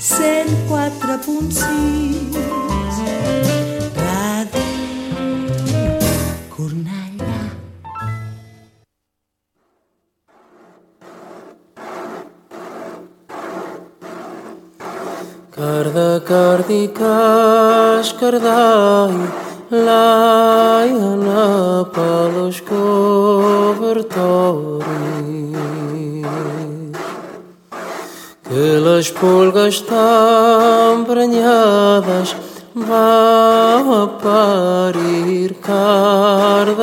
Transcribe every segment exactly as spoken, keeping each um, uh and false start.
cent quatre punt sis Ràdio Cornellà. Carda cardicas cardai laiana palos cobertores que las pulgas estão branhadas vão a parir cardadores.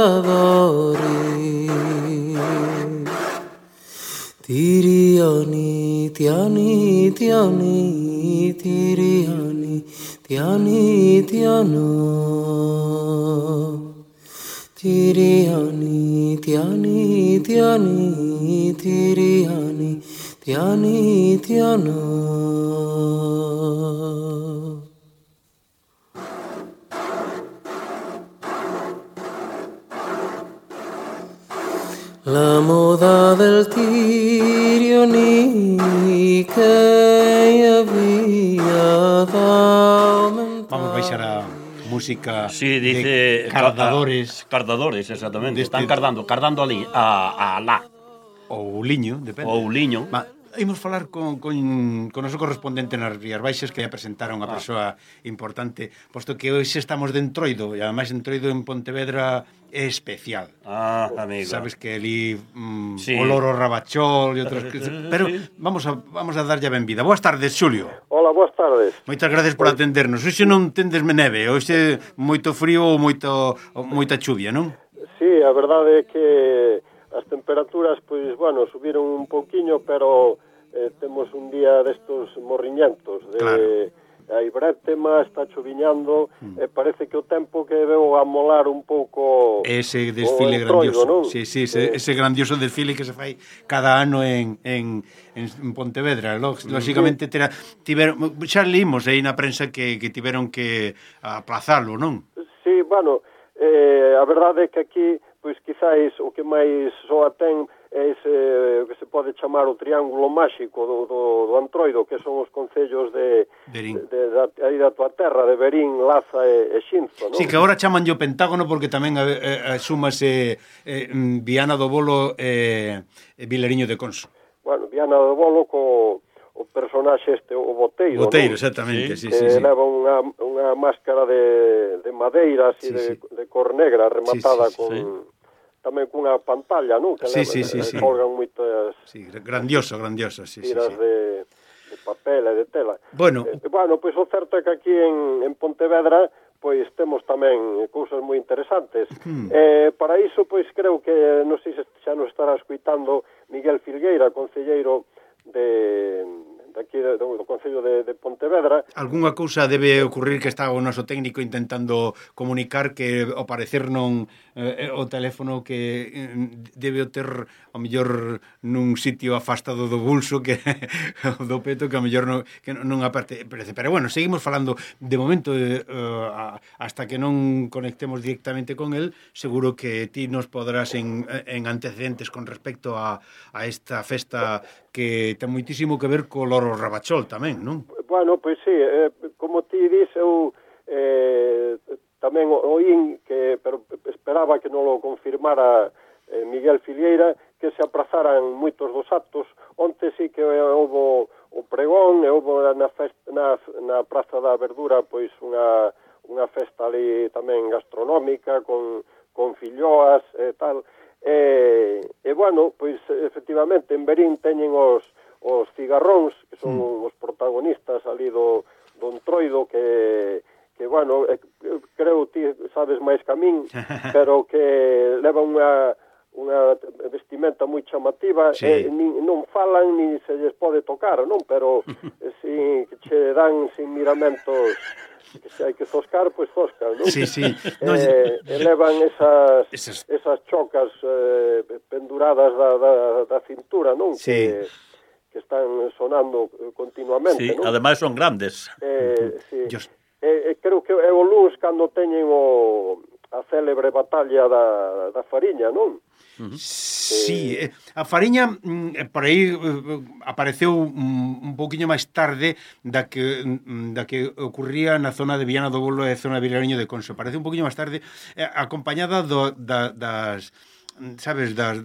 Tiriani, tiani, tiani, tiriani, tiani, tiano. Tiriani, tiani, tiani, tiriani, tiani, tiano. La moda del tirioni que había aumentado. Vamos a baixar a música sí, dice, de cardadores. Ca cardadores, exactamente. Deste... Están cardando, cardando ali, a, a lá. Ou liño, depende. Ou liño. Va, imos falar con, con, con o noso correspondente nas Rías Baixas, que ia presentar a unha ah. persoa importante, posto que hoxe estamos de Entroido, e ademais Entroido en Pontevedra é especial. Ah, amigo. Sabes que ali mm, sí. o loro rabachol e outras cousas. Pero vamos a, vamos a darlle a benvida. Boas tardes, Xulio. Hola, boas tardes. Moitas gracias por atendernos. Hoxe non tendesme neve, hoxe moito frío ou moito, moita chuvia, non? Sí, a verdade é que as temperaturas, pois, bueno, subiron un pouquiño, pero eh, temos un día destos morriñentos, de... Claro. Hai brétema, está choviñando, mm. e parece que o tempo que veo a molar un pouco ese desfile grandioso, non? Sí, sí, ese, eh. ese grandioso desfile que se fai cada ano en, en, en Pontevedra. Lógicamente, tera, tiveron, xa leímos aí na prensa que, que tiveron que aplazalo, non? Sí, bueno, eh, a verdade é que aquí, pois quizáis o que máis soa ten é ese que se pode chamar o triángulo máxico do, do, do Antroido, que son os concellos de, de, de, de aí da tua terra, de Verín, Laza e, e Xinzo, non? Sí, que agora chaman o Pentágono porque tamén asúmase eh, Viana do Bolo e eh, Vilariño de Conso. Bueno, Viana do Bolo co o personaxe este, o Boteiro, Boteiro, non? Exactamente, sí, que sí, sí. leva unha, unha máscara de, de madeira, así, sí, de, sí. de cor negra, rematada sí, sí, sí, con... Sí. Tamén cunha pantalla, non? Que sí, leva, sí, sí, sí. colgan moitas... Sí, grandioso, grandioso, sí, sí, tiras sí. de, de papel e de tela. Bueno, eh, bueno, pois o certo é que aquí en, en Pontevedra pois temos tamén cousas moi interesantes. Hmm. Eh, para iso, pois creo que, non sei se xa nos estará escuitando Miguel Filgueira, concelleiro de... aquí do, do Concello de, de Pontevedra. Algúnha cousa debe ocurrir que está o noso técnico intentando comunicar que ao parecer non eh, o teléfono que eh, debe o ter ao mellor nun sitio afastado do bolso que do peto que ao mellor non, que non aparte, pero bueno, seguimos falando de momento eh, hasta que non conectemos directamente con el, seguro que ti nos podrás en, en antecedentes con respecto a, a esta festa que ten moitísimo que ver co loro rabachol tamén, non? Bueno, pois sí, eh, como ti dis, eu eh, tamén oín que, pero esperaba que non lo confirmara eh, Miguel Filgueira, que se aprazaran moitos dos actos. Onte sí que houve o pregón, e houve na, festa, na, na Praza da Verdura pois unha, unha festa ali tamén gastronómica con, con filloas e tal. E, e bueno, pois efectivamente en Verín teñen os os cigarróns, que son mm. os protagonistas ali do, do Entroido, que, que bueno, eh, creo ti sabes máis que a min, pero que leva unha, unha vestimenta moi chamativa, sí. e nin, non falan ni se lles pode tocar, non? Pero eh, si, que che dan sin miramentos, que se hai que zoscar, pois zoscan, non? Sí, sí. No, eh, elevan esas, esas... esas chocas eh, penduradas da, da, da cintura, non? Sí. Que, que están sonando continuamente, sí, non? Ademais son grandes. Eh, sí. Just... eh, eh, creo que é o luns cando teñen o, a célebre batalla da, da Fariña, non? Sí, eh, a Fariña mm, por aí eh, apareceu un, un pouquiño máis tarde da que mm, da que ocurría na zona de Viana do Bolo e zona de Vilariño de Conso. Aparece un pouquiño máis tarde eh, acompañada do, da, das, sabes, das,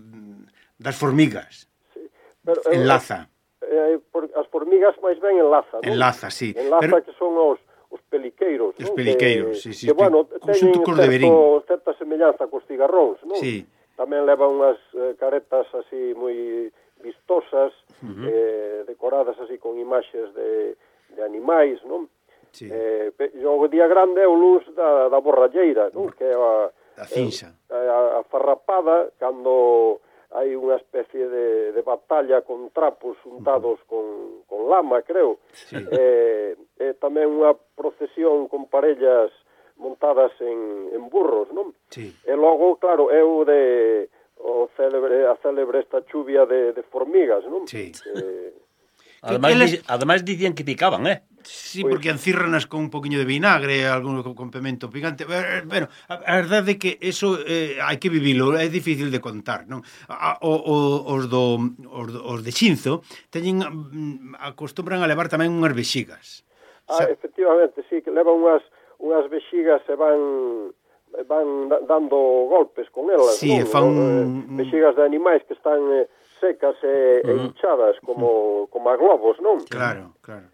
das formigas. Sí. Pero, Enlaza. Eh, por, as formigas máis ben enlaza, non? Enlaza, sí. Enlaza Pero... que son os os peliqueiros, Os non? peliqueiros, que, sí, sí. Que, bueno, teñen certo, certa semellanza cos cigarróns, non? Sí. Tamén leva unhas eh, caretas así moi vistosas, uh-huh. eh, decoradas así con imaxes de, de animais, non? Sí. Eh, e o día grande é o luz da, da borralleira, non? Que é a, a cinza. A, a farrapada, cando hai unha especie de, de batalla con trapos untados uh-huh. con, con lama, creo. Sí. Eh, e tamén unha procesión con parellas montadas en, en burros, non? Sí. E logo, claro, é o de o célebre, a célebre esta chuvia de, de formigas, non? Sí. Eh, ademais, les... di, ademais dicían que picaban, eh? Sí, porque encírranas con un poquinho de vinagre, algún complemento picante. Bueno, a verdade é que eso eh, hai que vivilo, é difícil de contar, non? A, o, o, os, do, os, do, os de Xinzo teñen, acostumbran a levar tamén unhas vexigas. Ah, efectivamente, sí, que levan unhas, unhas vexigas e van van dando golpes con elas, sí, non? Fan... Eh, vexigas de animais que están eh, secas e, uh-huh. e hinchadas como, como a globos, non? Claro, claro.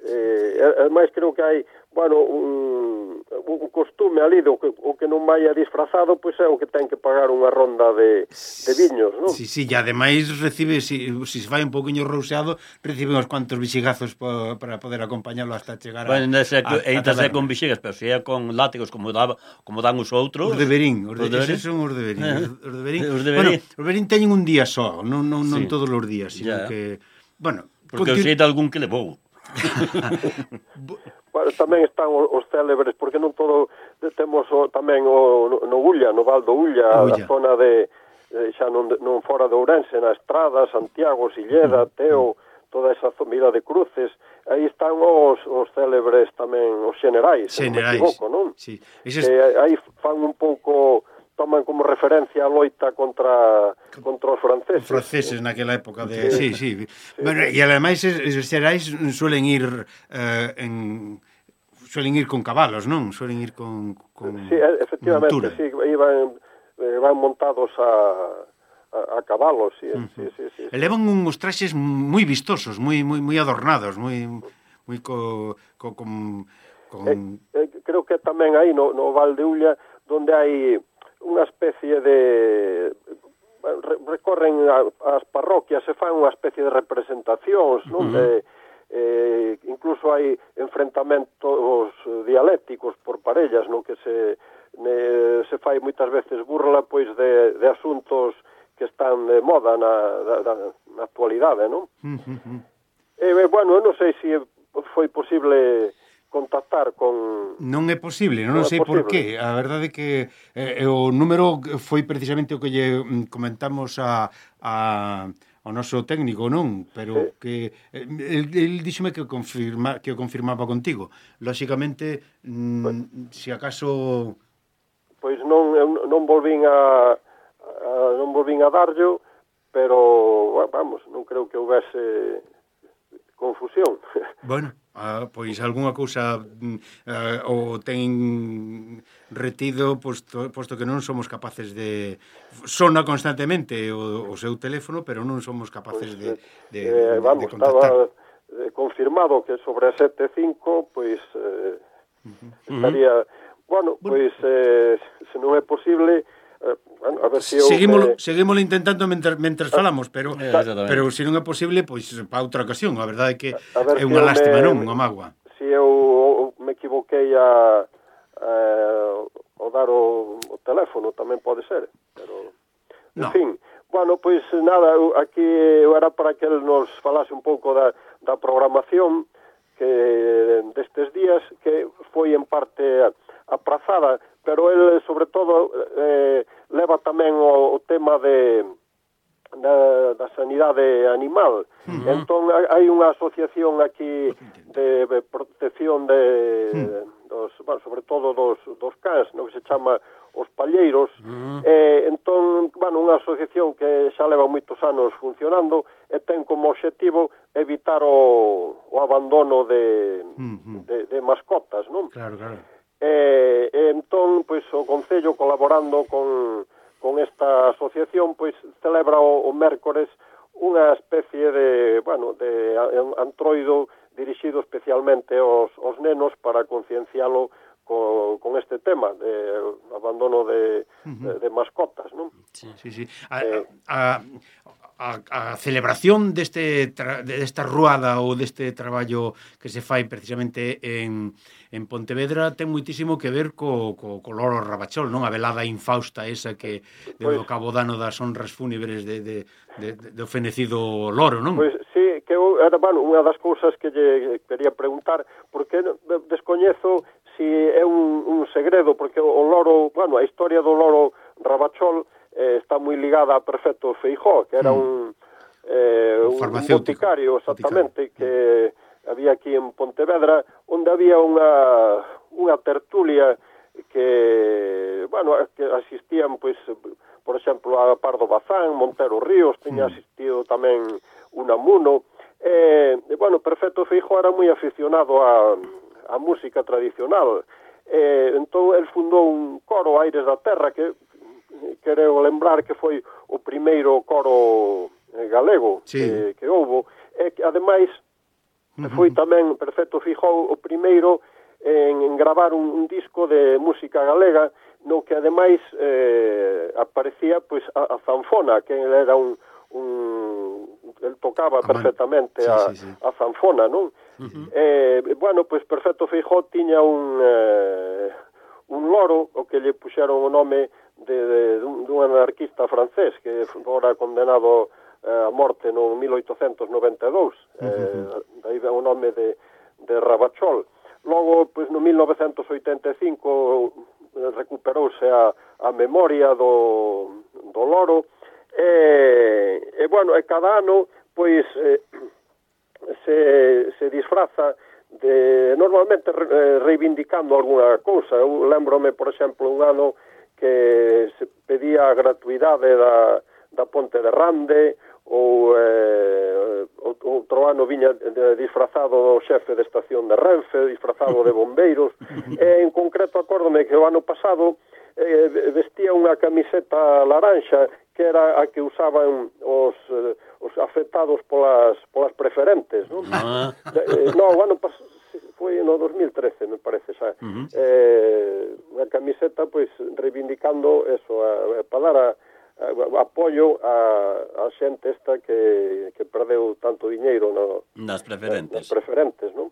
Eh, ademais creo que hai, bueno, un, un costume ali do que o que non vai a disfrazado, pois é o que ten que pagar unha ronda de, de viños, non? Sí, sí, e ademais recibe, si, si se vai un poquinho rouseado, recibe uns cuantos vixigazos po, para poder acompañalo hasta chegar a... Bueno, ese, a, a taberna. Con vixigas, pero se é con látigos como, daba, como dan os outros... Os de Berín, os de, os de eses son os de Berín. Eh. Os de Berín, os de bueno, Berín. os de Berín teñen un día só, non, non, non sí. todos os días, sino yeah. que... Bueno, porque continu... sei de algún que levou. Bueno, tamén están os, os célebres, porque non todo temos o, tamén o, no, no Ulla, no Val do Ulla, Ulla. A zona de, de xa non, non fora de Ourense, na Estrada, Santiago, Silleda, Teo, toda esa zomida de cruces, aí están os, os célebres tamén, os xenerais, se non me equivoco, non? Sí. Eses... Que aí fan un pouco, toman como referencia a loita contra contra os franceses. Os franceses naquela época de... Sí, sí. sí. sí. Bueno, e ademais os xerais suelen ir eh, en... suelen ir con cabalos, non? Suelen ir con, con sí, efectivamente, montura. Sí, iban, eh, van montados a, a, a cabalos, sí, uh-huh. sí, sí, sí, sí. Levan uns traxes moi vistosos, moi moi moi adornados, moi moi co, co con, con... Eh, eh, creo que tamén aí no, no Val de Ulla, donde hai unha especie de... recorren as parroquias e fan unha especie de representacións, non? Uh-huh. Eh, eh, incluso hai enfrentamentos dialécticos por parellas, non? Que se ne, se fai moitas veces burla pois de, de asuntos que están de moda na, na, na actualidade, non? Uh-huh. E, bueno, non sei se foi posible contactar con... Non é posible, non, non sei por qué. A verdade é que eh, o número foi precisamente o que lle comentamos a, a, ao noso técnico, non? Pero sí. que el, el díxome que, confirma, que o confirmaba contigo. Lóxicamente, mm, pues, se acaso... Pois non, non volvín a, a non volvín a darllo, pero, vamos, non creo que houvese confusión. Bueno, ah, pois algunha cousa uh, o ten retido, posto, posto que non somos capaces de... Sona constantemente o, o seu teléfono, pero non somos capaces pues, de, de, eh, vamos, de contactar. Estaba confirmado que sobre a sete cinco, pois eh, uh-huh. estaría... Bueno, pois, eh, se non é posible... Eh, bueno, a ver se si seguímolo, me... seguímolo intentando mentras, mentras falamos, pero eh, pero se non é posible, pois para outra ocasión. A verdade é que é si unha lástima, me, non? Unha mágoa. Se si eu me equivoquei a, a, a dar o, o teléfono, tamén pode ser, pero en no. fin. Bueno, pois nada, aquí era para que el nos falase un pouco da, da programación que destes días, que foi en parte aprazada, pero el, sobre todo, eh, leva tamén o, o tema de da, da sanidade animal. Uh-huh. Entón, hai unha asociación aquí de, de protección de, uh-huh. dos, bueno, sobre todo dos, dos cans, no, que se chama os palleiros, mm. e entón, bueno, unha asociación que xa leva moitos anos funcionando e ten como obxectivo evitar o, o abandono de, mm-hmm. de, de mascotas, non? Claro, claro. E, e entón, pois, o Concello colaborando con, con esta asociación, pois, celebra o, o mércores unha especie de, bueno, de antroido dirixido especialmente aos, aos nenos para conciencialo con, con este tema de abandono de, uh-huh. de, de mascotas, non? Sí, sí, sí. A, eh, a, a, a celebración deste tra, desta ruada ou deste traballo que se fai precisamente en, en Pontevedra ten moitísimo que ver co, co, co loro Rabachol, non? A velada infausta esa que deu pues, cabo dano das honras fúnebres de, de, de, de, do fenecido loro, non? Pois pues, sí, que eu, era, bueno, unha das cousas que lle quería preguntar, porque descoñezo si é un, un segredo, porque o loro, bueno, a historia do loro Rabachol eh, está moi ligada a Perfecto Feijóo, que era mm. un, eh, un, un boticario, exactamente, boticario. Que mm. había aquí en Pontevedra, onde había unha, unha tertulia que, bueno, que asistían, pois, por exemplo, a Pardo Bazán, Montero Ríos, tiña asistido tamén Unamuno, e, e bueno, Perfecto Feijóo era moi aficionado a, a música tradicional, e, entón, el fundou un coro, Aires da Terra, que quero lembrar que foi o primeiro coro galego sí. que, que houbo, e que, ademais, uh-huh. foi tamén Perfecto Feijóo o primeiro en, en gravar un, un disco de música galega, no que ademais eh, aparecía pois a, a zanfona, que era un, un el tocaba Amán. perfectamente sí, a, sí, sí. a zanfona, non? Uh-huh. Eh, bueno, pois Perfecto Feijóo tiña un eh, un loro, o que lle puxeron o nome de, de, dun, dun anarquista francés que fora condenado eh, a morte no mil oitocentos noventa e dous, uh-huh. eh, daí ven o nome de, de Rabachol. Logo, pois no mil novecentos oitenta e cinco recuperouse a, a memoria do, do loro e, e bueno, e cada ano pois eh, se, se disfraza de, normalmente re, reivindicando alguna cousa. Eu lembrome, por exemplo, un ano que se pedía a gratuidade da, da Ponte de Rande, ou eh, outro ano viña disfrazado do xefe de estación de Renfe, disfrazado de bombeiros, e en concreto acórdome que o ano pasado eh, vestía unha camiseta laranxa que era a que usaban os, eh, os afectados polas, polas preferentes, non? Ah. Eh, no, o ano pasado foi no dos mil trece, me parece, xa. Uh-huh. Eh, unha camiseta, pois, reivindicando eso, a, a, para dar a apoio a, a xente esta que, que perdeu tanto diñeiro no, nas preferentes, nas preferentes, non?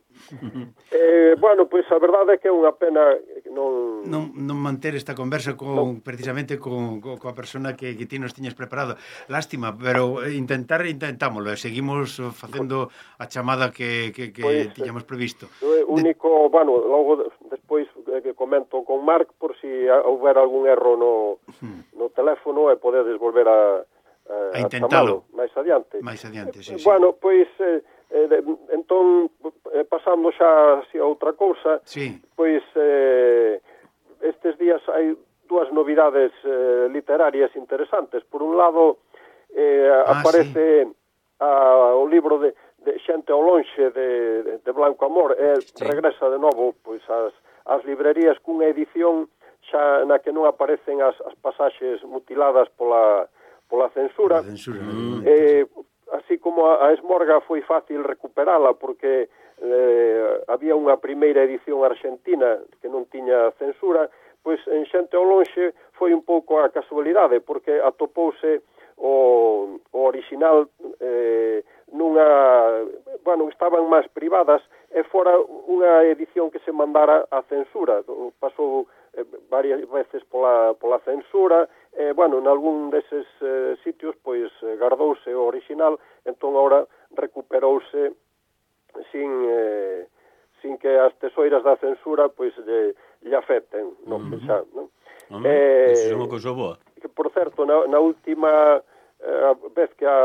eh, bueno, pois a verdade é que é unha pena non... Non, non manter esta conversa con, no. precisamente con, con, coa persona que, que ti nos tiñas preparado. Lástima, pero intentar intentámoslo, seguimos facendo a chamada que, que, que pois, tiñamos previsto. O único, de... bueno, logo despois que comento con Marc por si houver algún erro no, hmm. no teléfono e podedes volver a, a, a intentalo máis adiante. Máis adiante, sí, sí. Bueno, pois eh, eh, entón eh, pasando xa así a outra cousa, sí. pois eh, estes días hai dúas novidades eh, literarias interesantes. Por un lado eh, ah, aparece sí. a, o libro de, de Xente ao lonxe de, de, de Blanco Amor e sí. regresa de novo pois as as librerías cunha edición xa na que non aparecen as, as pasaxes mutiladas pola, pola censura. censura mm. eh, así como a, a Esmorga foi fácil recuperala porque eh, había unha primeira edición argentina que non tiña censura, pois en Xente ao lonxe foi un pouco a casualidade porque atopouse o, o original eh, nunha, bueno, estaban máis privadas e fora unha edición que se mandara a censura. Pasou eh, varias veces pola, pola censura e, bueno, en algún deses eh, sitios, pois, gardouse o original, entón agora recuperouse sin, eh, sin que as tesoiras da censura, pois, lle, lle afecten, non? Uh-huh. Xa, non? Uh-huh. Eh, Eso é unha cousa boa. Que, por certo, na, na última eh, vez que a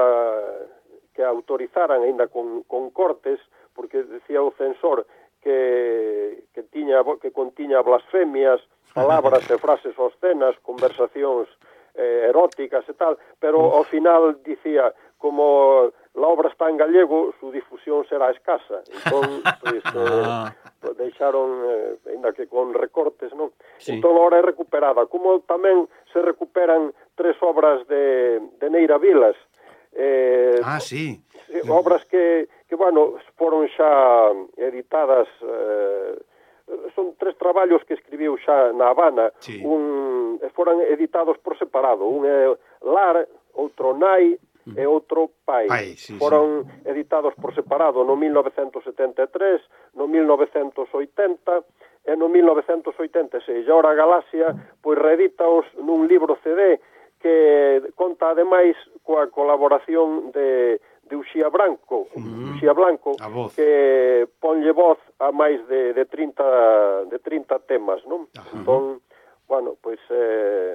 que autorizaran aínda con, con cortes, porque decía o censor que, que, tiña, que contiña blasfemias, palabras e frases obscenas, conversacións eh, eróticas e tal, pero ao final dicía, como la obra está en gallego, su difusión será escasa. Entón, pues, eh, pues deixaron, eh, ainda que con recortes, non? Sí. Entón, ahora é recuperada. Como tamén se recuperan tres obras de, de Neira Vilas. Eh, ah, sí. Obras que, que, bueno, foron xa editadas, eh, son tres traballos que escribiu xa na Habana, sí. un, foran editados por separado, un é Lar, outro Nai, e outro Pai. Pai sí, foron sí. editados por separado no mil novecentos setenta e tres, no mil novecentos oitenta e no mil novecentos oitenta e seis. E ora a Galaxia pois reeditaos nun libro C D que conta ademais coa colaboración de, de Uxía Branco, uh-huh. Uxía Blanco, que ponlle voz a máis de, de, trinta, de trinta temas, non? Uh-huh. Entón, bueno, pois eh,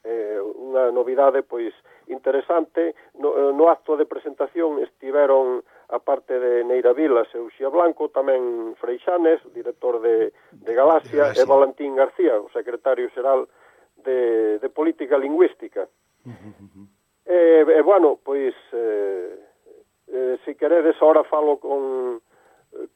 eh, unha novidade pois interesante. No, no acto de presentación estiveron, a parte de Neira Vilas e Uxía Blanco, tamén Freixanes, director de, de Galaxia, e Valentín García, o secretario xeral de, de Política Lingüística. Uh-huh. E, e, bueno, pois, eh, eh, se queredes, ahora falo con,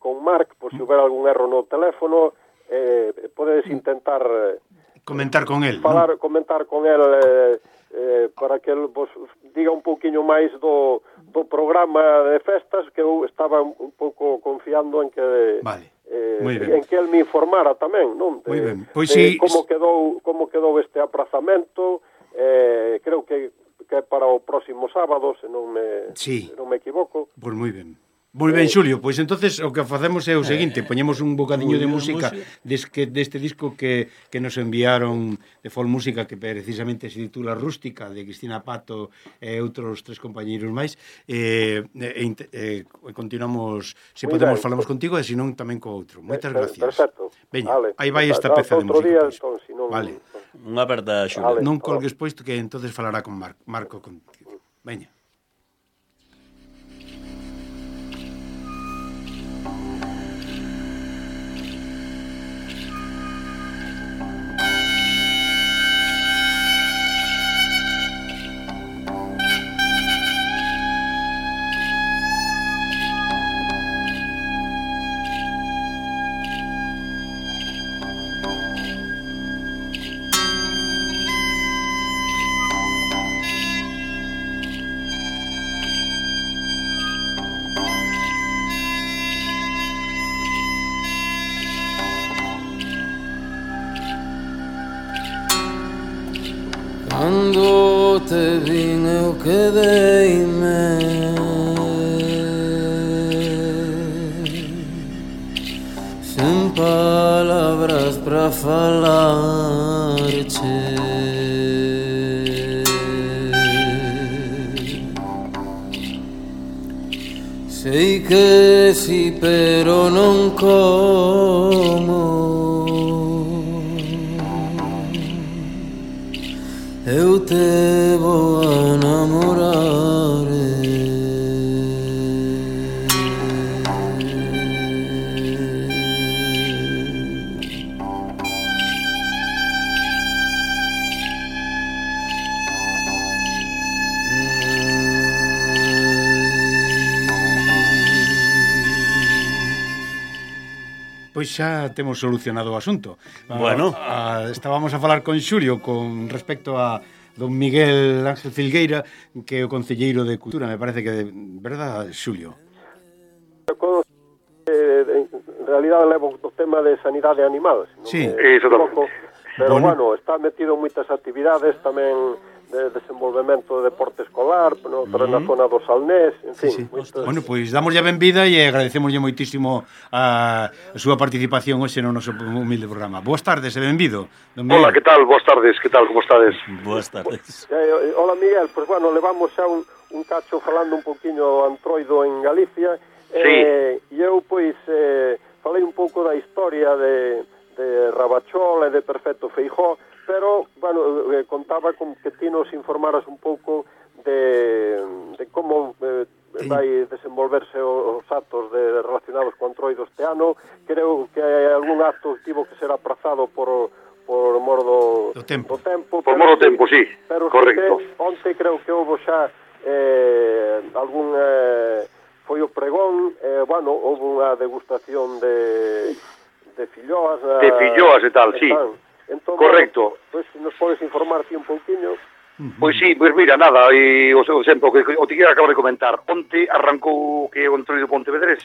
con Marc, por se houver algún erro no teléfono, eh, podedes intentar... Eh, comentar con el, falar, ¿no? Comentar con el eh, eh, para que el vos diga un pouquiño máis do, do programa de festas, que eu estaba un pouco confiando en que vale. eh, en que el me informara tamén, non? De, Muy ben. Pois de si... como quedou como quedou este aprazamento, eh, creo que que é para o próximo sábado, se non me sí. se non me equivoco. Pois moi ben. Moi ben, Xulio, pois entonces o que facemos é o seguinte, poñemos un bocadiño de música deste, deste disco que, que nos enviaron de Folk Música, que precisamente se titula Rústica, de Cristina Pato e outros tres compañeiros máis, e, e, e, e continuamos, se podemos ben. Falamos contigo, e se non tamén co outro. Moitas gracias. Perfecto. Veña, vale. Aí vai esta peza de música. Día, entón, si non... Vale. Unha verdade, Xulio. Vale. Non colgues posto que entonces falará con Mar Marco contigo. Veña. Cando te vin eu quedeime sen palabras pra falarche. Sei que si, pero non como. Eu te vou a namorar. Pois xa temos solucionado o asunto. Bueno, a, a, estábamos a falar con Xulio con respecto a don Miguel Ángel Filgueira, que é o concelleiro de Cultura, me parece que, verdad, Xulio? Con, eh, en realidad levo o tema de sanidade animal, non sí, equivoco, pero bueno. bueno, está metido en moitas actividades tamén de desenvolvemento de deporte escolar, no, pero mm. na zona do Salnés, en fin. Sí, sí. Moitos... Bueno, pois pues, damos ya benvida e agradecemoslle moitísimo a, a súa participación hoxe no noso humilde programa. Boas tardes e benvido. Hola, que tal? Boas tardes, que tal? Como estades? Boas tardes. Eh, hola, Miguel, pois pues, bueno, levamos xa un, un cacho falando un poquinho antroido en Galicia. Sí. Eh, e eu, pois, eh, falei un pouco da historia de, de Rabachol e de Perfecto Feijóo, pero, bueno, eh, contaba con que ti nos informaras un pouco de, de como eh, vai desenvolverse os actos de, relacionados relacionados con Entroido este ano. Creo que algún acto tivo que ser aprazado por por mor do, do tempo. do tempo por mor do tempo, sí, pero correcto. Sí que, onte creo que houve xa eh, algún eh, foi o pregón, eh, bueno, houve unha degustación de de filloas, de filloas e tal, sí, entón, correcto. Pois pues, nos podes informar ti un pouquiño. Pois sí, pois mira, nada, e o seu exemplo que o te acabo de comentar, onte arrancou que o Entroido Pontevedrés,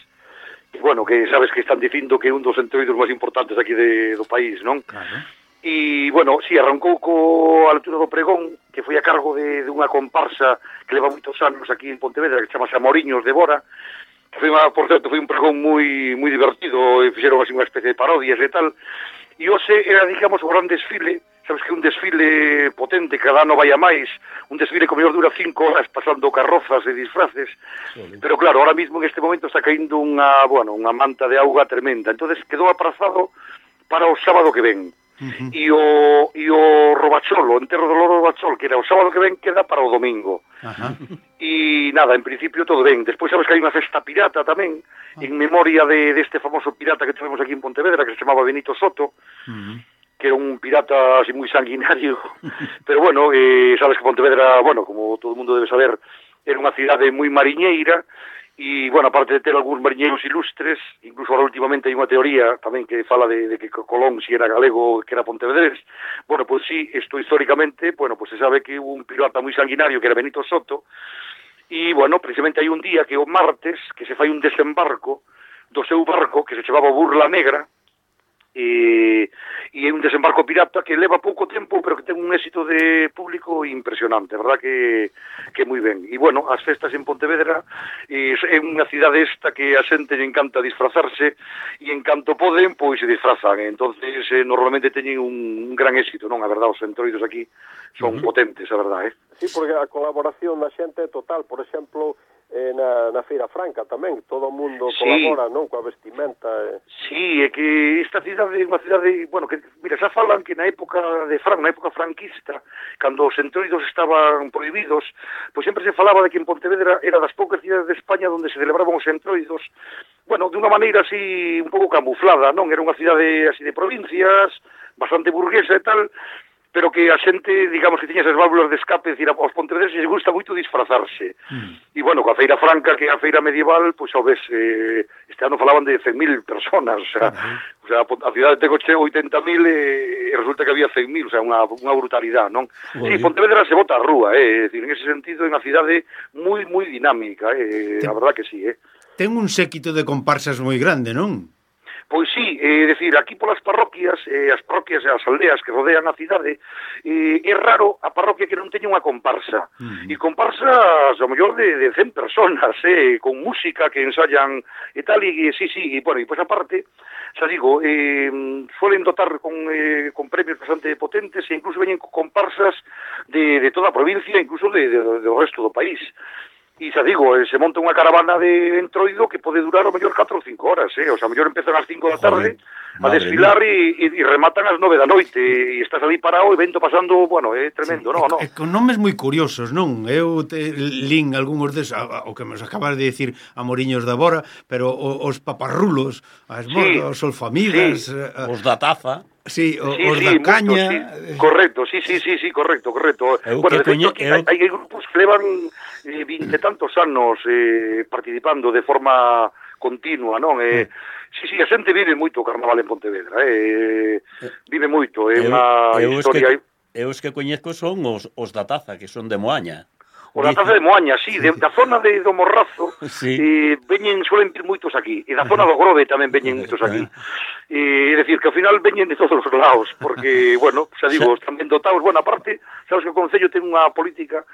e bueno, que sabes que están dicindo que é un dos entroidos máis importantes aquí de, do país, non? Claro. E, bueno, sí, arrancou co a altura do pregón, que foi a cargo de, de unha comparsa que leva moitos anos aquí en Pontevedra, que chamase Amoriños de Bora, que foi, uma, por certo, foi un pregón moi moi divertido, e fixeron así unha especie de parodias e tal, e hoxe era, digamos, o gran desfile, sabes que un desfile potente, cada ano vai a máis, un desfile que mellor dura cinco horas pasando carrozas e disfraces, sí. Pero claro, ahora mismo en este momento está caindo unha, bueno, unha manta de auga tremenda, entonces quedou aprazado para o sábado que ven. Uh-huh. E o e o Robacholo, o enterro do Loro Robachol, que era o sábado que ven, queda para o domingo. Uh-huh. E nada, en principio todo ben. Despois sabes que hai unha festa pirata tamén, uh-huh. En memoria de deste famoso pirata que tivemos aquí en Pontevedra, que se chamaba Benito Soto, uh-huh. Que era un pirata así moi sanguinario. Pero bueno, eh, sabes que Pontevedra, bueno, como todo o mundo debe saber, era unha cidade moi mariñeira. E, bueno, aparte de ter algúns mariñeiros ilustres, incluso ahora últimamente hai unha teoría tamén que fala de, de que Colón si era galego, que era pontevedrés. Bueno, pois sí, isto históricamente, bueno, pois se sabe que hubo un pirata moi sanguinario que era Benito Soto, e, bueno, precisamente hai un día que o martes, que se fai un desembarco do seu barco, que se chamaba Burla Negra, e, e é un desembarco pirata que leva pouco tempo, pero que ten un éxito de público impresionante, verdad que, que moi ben. E, bueno, as festas en Pontevedra e é unha cidade esta que a xente lle encanta disfrazarse e en canto poden, pois se disfrazan. Entonces, eh, normalmente teñen un, un gran éxito, non? A verdad, os entroidos aquí son uh-huh. potentes, a verdad, eh? Sí, porque a colaboración da xente é total. Por exemplo, eh, na, na Feira Franca tamén, todo o mundo sí. colabora, non? Coa vestimenta. Eh. Sí, é que esta cidade é unha cidade, bueno, que, mira, xa falan que na época de Fran, na época franquista, cando os entroidos estaban prohibidos, pois sempre se falaba de que en Pontevedra era das poucas cidades de España onde se celebraban os entroidos, bueno, de unha maneira así un pouco camuflada, non? Era unha cidade así de provincias, bastante burguesa e tal, pero que a xente, digamos, que tiña esas válvulas de escape, decir, aos pontevedreses les gusta moito disfrazarse. Mm. E, bueno, coa Feira Franca, que é a feira medieval, pois, ao ves, eh, este ano falaban de cen mil personas, o sea, uh-huh. o sea a cidade ten oitenta mil e, e resulta que había cen mil, o sea, unha, unha brutalidade, non? Sí, Pontevedra se bota a rúa, eh, é dicir, en ese sentido, é unha cidade moi, moi dinámica, eh, ten, a verdad que sí, eh. Ten un séquito de comparsas moi grande, non? Pois sí, é eh, dicir, aquí polas parroquias, eh, as parroquias e as aldeas que rodean a cidade, eh, é raro a parroquia que non teña unha comparsa. Uh-huh. E comparsas, ao mellor, de, de cen personas, eh, con música que ensayan e tal, e sí, sí, e, bueno, e pois aparte, xa digo, eh, suelen dotar con, eh, con premios bastante potentes e incluso veñen con comparsas de, de toda a provincia, incluso de, de, de, do resto do país. E xa digo, eh, se monta unha caravana de entroido que pode durar o mellor catro ou cinco horas, eh? O sea, o mellor empezan ás cinco da tarde Joder, a desfilar e, e, e rematan ás nove da noite e estás ali parado e vento pasando, bueno, é tremendo, sí, non? E, con nomes moi curiosos, non? Eu te lin algúns des, o que nos acabas de dicir Amoriños da Bora, pero os paparrulos, as sí, os solfamigas, sí, a, os da taza. Sí, o, sí, os sí, da caña. Mucho, sí. Correcto, sí, sí, sí, sí, correcto, correcto. Eu bueno, de coñe, feito, eu... hai, hai grupos que levan eh, vinte tantos anos eh, participando de forma continua, non? Eh, sí, sí, a xente vive moito o carnaval en Pontevedra, eh, vive moito, é eh, unha historia... Que, eu os que coñezco son os, os da taza, que son de Moaña. O da taza de Moaña, sí, de, da zona de do Morrazo, sí. eh, veñen, suelen vir moitos aquí, e da zona do Grove tamén veñen moitos aquí. É eh, decir, que ao final veñen de todos os lados, porque, bueno, xa digo, están ben dotados. Bueno, aparte, sabes que o Concello ten unha política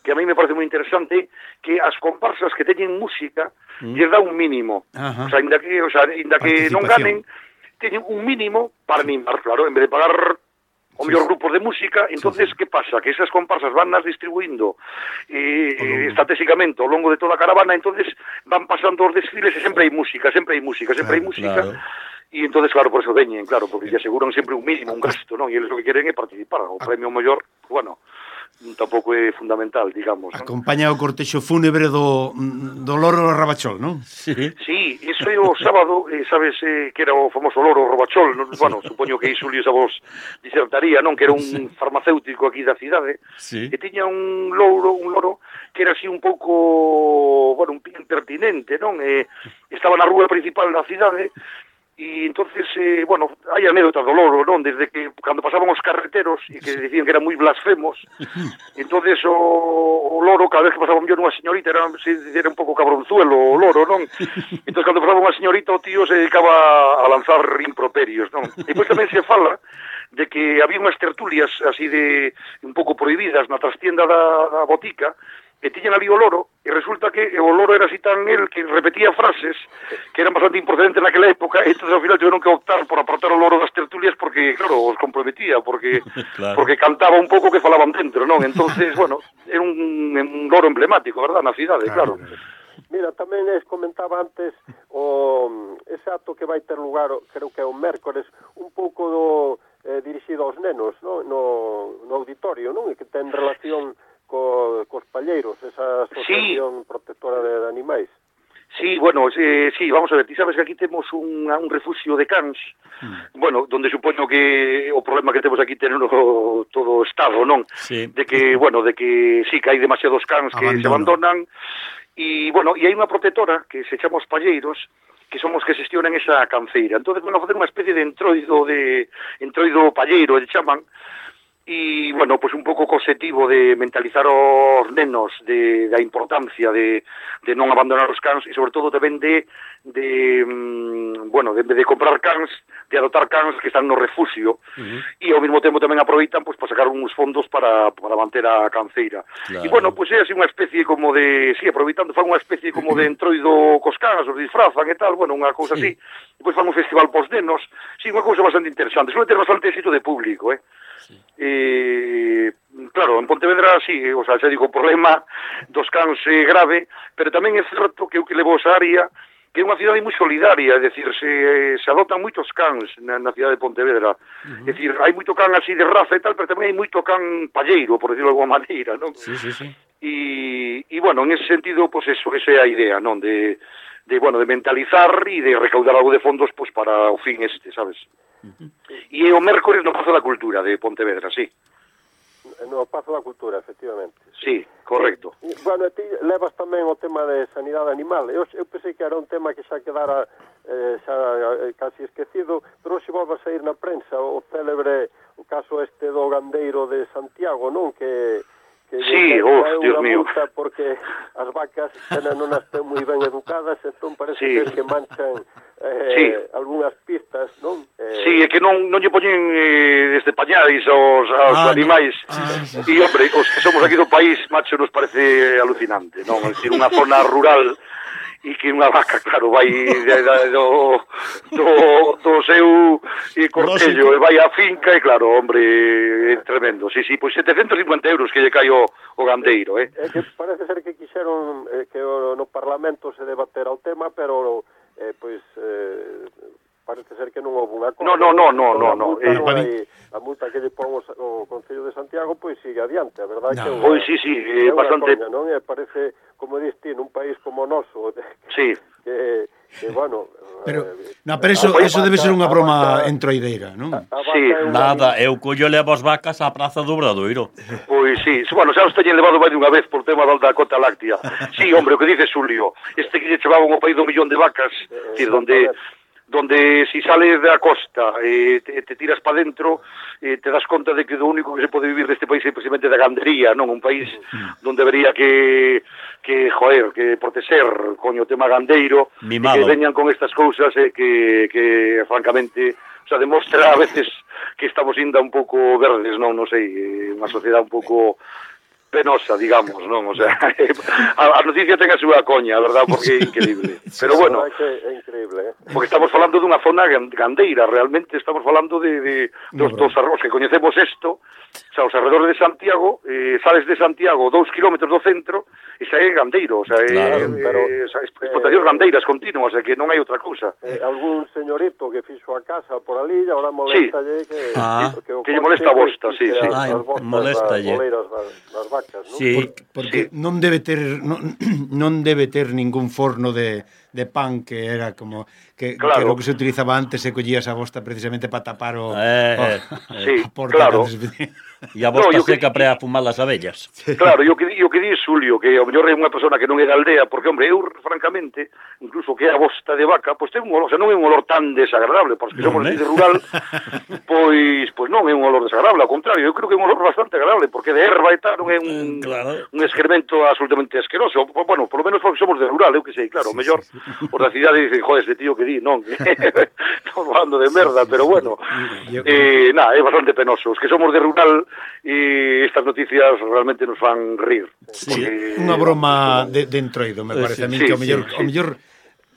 que a mí me parece moi interesante, que as comparsas que teñen música, mm. lles dá un mínimo. Ajá. O sea, inda que, o sea, inda que non ganen, teñen un mínimo para animar, claro, en vez de pagar o mellor grupos de música, entonces sí, sí. que pasa? Que esas comparsas van nas distribuindo eh, eh, estratégicamente ao longo de toda a caravana, entonces van pasando os desfiles e sempre hai música, sempre hai música, sempre hai música, claro. E entonces, claro, por eso veñen, claro, porque lle aseguran sempre un mínimo, un gasto, non? E eles o que queren é participar, o premio mellor, bueno, tampouco é fundamental, digamos. Non? Acompaña o cortexo fúnebre do, do loro Rabachol, non? Sí. Sí, iso é o sábado, eh, sabes eh, que era o famoso loro Rabachol, non? Bueno, supoño que iso Luis a vos disertaría, non? Que era un sí. farmacéutico aquí da cidade, sí. e tiña un louro, un loro que era así un pouco, bueno, un pin pertinente, non? Eh, estaba na rúa principal da cidade. E entonces, eh, bueno, hai anécdotas do loro, non? Desde que, cando pasaban os carreteros e que dicían que eran moi blasfemos, entonces o, o loro, cada vez que pasaba mellor unha señorita, era, era un pouco cabronzuelo o loro, non? Entonces, cando pasaba unha señorita, o tío se dedicaba a lanzar improperios, non? E depois tamén se fala de que había unhas tertulias así de un pouco prohibidas na trastienda da, da botica, e tiñan ali o loro, e resulta que o loro era así tan el que repetía frases que eran bastante improcedentes naquela época, e entonces ao final tiveron que optar por apartar o loro das tertulias porque, claro, os comprometía, porque claro. porque cantaba un pouco que falaban dentro, non? Entonces, bueno, era un, un loro emblemático, verdad, na cidade, claro. Mira, tamén les comentaba antes o ese acto que vai ter lugar, creo que é o mércores, un pouco do eh, dirixido aos nenos, no, no, no auditorio, non? E que ten relación co, cos palleiros, esa asociación sí. protectora de, de animais. Sí, bueno, eh, sí, vamos a ver, ti sabes que aquí temos un, un refugio de cans, mm. bueno, donde supoño que o problema que temos aquí teneno todo o Estado, non? Sí. De que, bueno, de que sí, que hai demasiados cans que Abandono. se abandonan, e, bueno, e hai unha protectora que se chama os palleiros, que somos que xestionan esa canceira. Entonces, bueno, facer unha especie de entroido de entroido palleiro, e chaman, e, bueno, pues un pouco co objetivo de mentalizar os nenos de, da importancia de, de non abandonar os cans e, sobre todo, tamén de, de mm, bueno, de, de comprar cans, de adoptar cans que están no refugio uh-huh. e, ao mesmo tempo, tamén aproveitan pues, para sacar uns fondos para, para manter a canceira. Claro. E, bueno, pues é así unha especie como de, sí, aproveitando, fan unha especie como de entroido cos cans, os disfrazan e tal, bueno, unha cousa sí. así. Depois fan un festival pos nenos, sí, unha cousa bastante interesante. Suele ter bastante éxito de público, eh? Sí. E, claro, en Pontevedra, sí, o sea, xa digo, o problema dos cans é grave, pero tamén é certo que o que levou esa área que é unha cidade moi solidaria, é dicir, se, se adoptan moitos cans na, na cidade de Pontevedra. Uh-huh. É dicir, hai moito can así de raza e tal, pero tamén hai moito can palleiro, por decirlo de alguma maneira, non? Sí, sí, sí. E, e bueno, en ese sentido, pues eso, esa é a idea, non? De, de, bueno, de mentalizar e de recaudar algo de fondos, pues para o fin este, sabes? Uh-huh. E é o mércores no Pazo da Cultura de Pontevedra, sí. No Pazo da Cultura, efectivamente. Sí, correcto. E, bueno, ti levas tamén o tema de sanidade animal. Eu, eu pensei que era un tema que xa quedara eh, xa eh, casi esquecido, pero hoxe volve a sair na prensa o célebre, o caso este do gandeiro de Santiago, non? Que... Que sí, uf, Dios mío. Porque as vacas non as ten moi ben educadas, entón parece sí. que manchan eh, sí. algunhas pistas, non? Eh... Sí, é que non, non lle poñen eh, desde pañais aos, aos ah, animais. No. Ah, sí, sí. E, hombre, os que somos aquí do país, macho, nos parece alucinante, non? É dicir, unha zona rural e que unha vaca, claro, vai de, de, do, do, do seu e cortello, e vai á finca, e claro, hombre, é tremendo. Sí, sí, pois setecentos e cincuenta euros que lle cai o, o gandeiro, eh? É que parece ser que quixeron eh, que o, no Parlamento se debatera o tema, pero, eh, pois, eh, parece ser que non houve unha cosa. No, no, no, no, no, no. Eh, hai, a multa que lle pon o Concello de Santiago, pois sigue adiante, a verdade no. que... Pois sí, sí, é bastante... Coña, non? E parece, como dis ti, nun país como o noso, sí. que, que bueno... Pero, no, pero eso, eso debe ser unha broma entroideira, non? Sí, nada, eu collo levo as vacas á Praza do Obradoiro. Pois sí, bueno, xa os teñen levado máis dunha vez por tema da cota láctea. Sí, hombre, o que dice Xulio, este que lle chevaban o país do millón de vacas, eh, decir, donde... donde si sales da costa e eh, te, te tiras para dentro eh, te das conta de que o único que se pode vivir deste país é precisamente da gandería, non? Un país donde debería que, que joder, que proteger coño o tema gandeiro, e que veñan con estas cousas eh, que, que francamente, o sea, demostra a veces que estamos ainda un pouco verdes, non? Non sei, unha sociedade un pouco penosa, digamos, non? O sea, a, a noticia ten a súa coña, a verdad, porque é increíble. Pero bueno, é, que é increíble, eh? Porque estamos falando dunha zona gandeira, realmente estamos falando de, de dos, dos arroz que coñecemos isto, o sea, os arredores de Santiago, eh, sales de Santiago dous kilómetros do centro, e xa é gandeiro, o sea, claro, é, pero, eh, explotacións eh, gandeiras continuas, o sea, que non hai outra cousa. Eh, algún señorito que fixo a casa por ali, e agora molestalle que, Ah. que, o Que lle molesta a bosta, sí, sí. Ai, moléstalle. Das boleiras das, das vacas, non? Sí, Porque, porque sí. non debe ter non, non debe ter ningún forno de, de pan que era como que, Claro. que lo que se utilizaba antes se collía esa bosta precisamente para tapar o, Eh, o, eh, sí, a porta claro. antes. E a bosta No, yo seca que- para fumar as abellas. Claro, yo que di, yo que di Xulio, que ao mellor é unha persona que non é da aldea, porque, hombre, eu, francamente, incluso que é a bosta de vaca, pois ten un olor, o sea, non é un olor tan desagradable, porque somos Non é? de rural, pois, pois non é un olor desagradable, ao contrario, eu creo que é un olor bastante agradable, porque de erva e tal non é un, Claro. un excremento absolutamente asqueroso, bueno, por lo menos porque somos de rural, eu que sei, claro, o mellor, por da cidade dicen, joder, este tío que di, non, estamos falando de merda, pero bueno, Yo- eh, nada, é bastante penoso, os que somos de rural, e estas noticias realmente nos fan rir. Sí, porque- unha broma de, de entroido, me parece Sí, a mí sí, que ao mellor, sí, ao mellor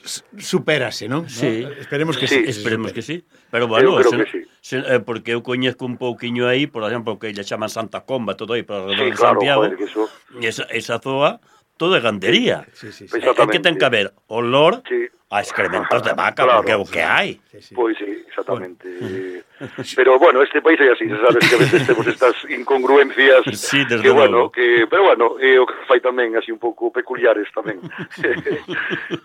s- supérase, non? Sí. ¿No? Esperemos que Sí, sí. Esperemos que sí. Pero bueno, Eu creo se, que sí. se, eh, porque eu coñezco un pouquiño aí, por exemplo, que lle chaman Santa Comba, todo aí, para Sí, de claro, Santiago, joder, que eso... esa, esa zoa, todo é gandería. Sí, sí, sí. É, é Exactamente. que ten que haber olor Sí. a excrementos de vaca, Claro, porque é o que hai. Sí, sí. Pois sí, exactamente. Pero bueno, este país é así, sabes que a veces temos estas incongruencias Sí, desde que bueno, logo. que pero bueno, é o que fai tamén así un pouco peculiares tamén.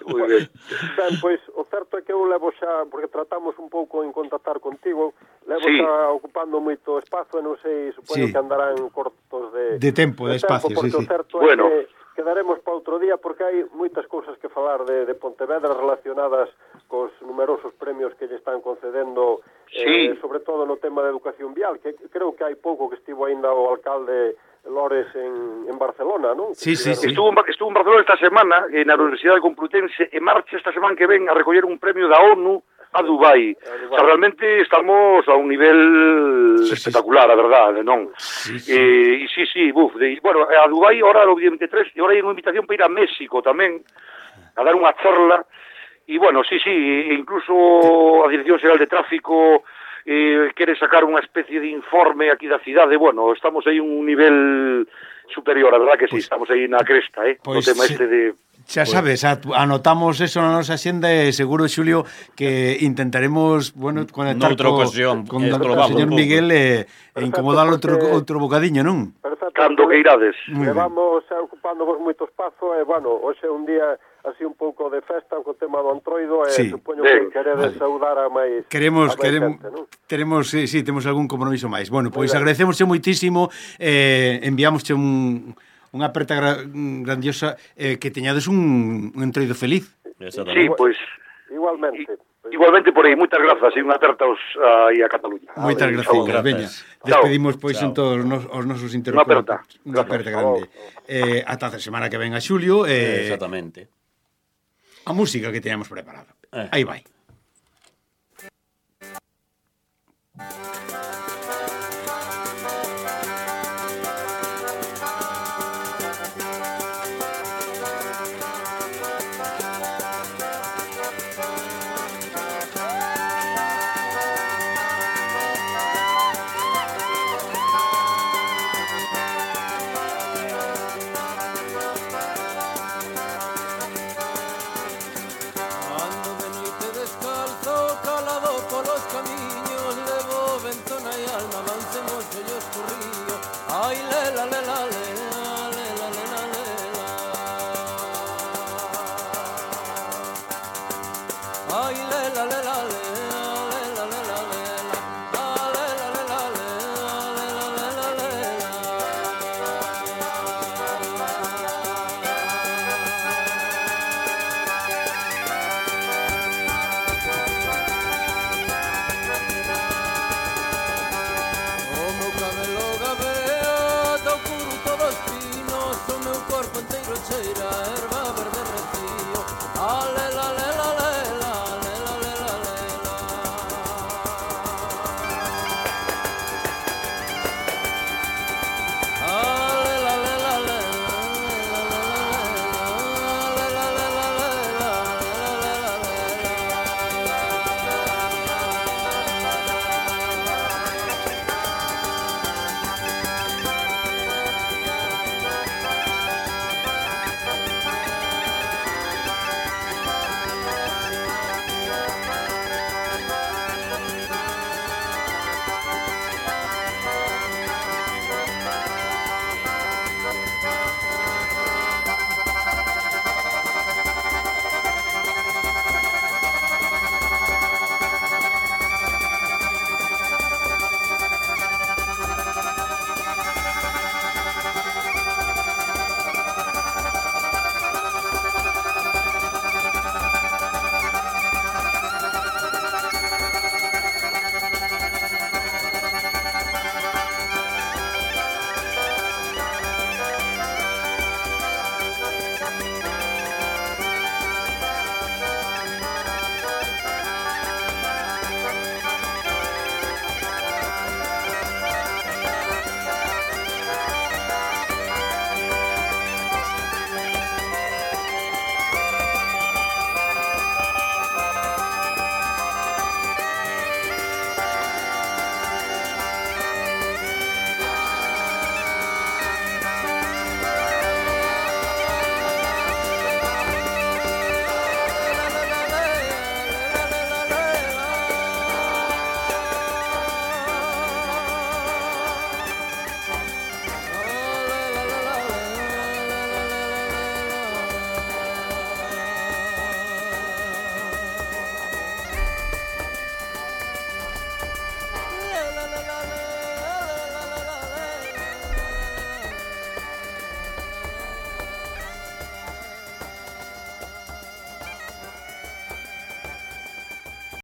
Moi ben. Ben, pois, o certo é que eu levo xa, porque tratamos un pouco en contactar contigo, levo Sí. xa ocupando moito espazo, e non sei, supoño Sí. que andarán cortos de... De tempo, de espacio, porque sí, o sí. certo Bueno. é que quedaremos para outro día, porque hai moitas cousas que falar de, de Pontevedra relacionadas cos numerosos premios que lle están concedendo, Sí. eh, sobre todo no tema de educación vial, que creo que hai pouco que estivo aínda o alcalde Lores en, en Barcelona, non? Sí, sí, sí. Estuvo en, Ba- estuvo en Barcelona esta semana, eh, na Universidade Complutense, e marcha esta semana que ven a recoller un premio da ONU a Dubai. O sea, realmente estamos a un nivel Sí, sí. espectacular, a verdade, non? Sí, sí. Eh, e sí, sí, buf, de, bueno, a Dubai ahora o día veintitrés, e ahora hai unha invitación para ir a México tamén, a dar unha charla, e bueno, sí, sí, e incluso a Dirección Xeral de Tráfico eh, quere sacar unha especie de informe aquí da cidade, bueno, estamos aí un nivel superior, a verdad que sí, estamos aí na cresta, eh, Pois no tema sí. este de... Xa sabes, a- anotamos eso na nosa xenda e seguro, Xulio, que intentaremos, bueno, conectar Noutra co, ocasión, con eh, o probamos señor un pouco. Miguel e, e incomodar outro, porque- outro bocadiño, non? Perfecto. Cando que irades. Moi ben. Levamos xa ocupándovos moito espazo e, bueno, hoxe é un día así un pouco de festa co tema do Antroido e Sí. supoño Ben, que queredes vale. saudar a máis Queremos, a máis queremos, xente, non? teremos, sí, sí, temos algún compromiso máis. Bueno, pois ben. agradecemosche moitísimo, eh, enviámosche un, unha aperta gra, grandiosa, eh, que teñades un, un entroido feliz. Sí, Exactamente. pois... Igualmente. I- Igualmente por aí, moitas grazas e unha aperta aos, aí a Cataluña. Moitas ben, gracias, saúde. veña. Chao. Despedimos pois Chao. en todos nos, os nosos Unha interlocutores. aperta. Unha aperta grande. Eh, ata a semana que ven a Xulio, eh, Exactamente. a música que teñamos preparada. Eh. Aí vai.